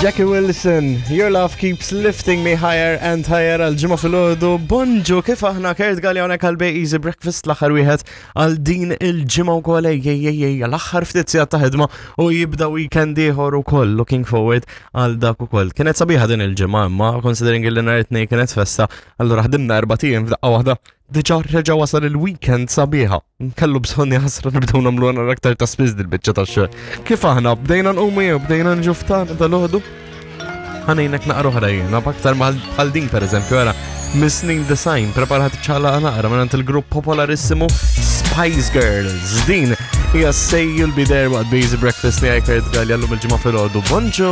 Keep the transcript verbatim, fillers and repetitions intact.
Jackie Wilson, "Your Love Keeps Lifting Me Higher and Higher" għal Ġimgħa filgħodu. Bonġu, kif aħna? Kurt Galea hawnhekk għal Bay Easy Breakfast, l-aħħar wieħed għal din il-ġimgħa wkoll. Ej ej ej ej, l-aħħar ftit sigħat ta' ħidma u jibda weekend ieħor ukoll, looking forward għal dak ukoll. Kienet sabiħa din il-ġimgħa, imma considering li nhar it-Tnejn kienet festa, allura ħdimna erbat ijiem f'daqqa waħda. Diġà reġa' wasal il-weekend, sabiħa. Kellu bżonn jaħasra nibdew nagħmlu għana aktar ta' spiss dil-biċċa ta' xogħol. Kif aħna, bdejna nqumu jew bdejna nġu ftan dal-ħodu? Ħa ngħinek naqra oħra jiena, b'aktar bħal din per eżempju, għara, Mis-snin disgħin, preparat ċala naqra minn il-grupp popolarissimu Spice Girls. Din hija "Say You'll Be There" waqt Busy Breakfast li Kurt Galea llum il-Ġimgħa filgħodu. Bonġu!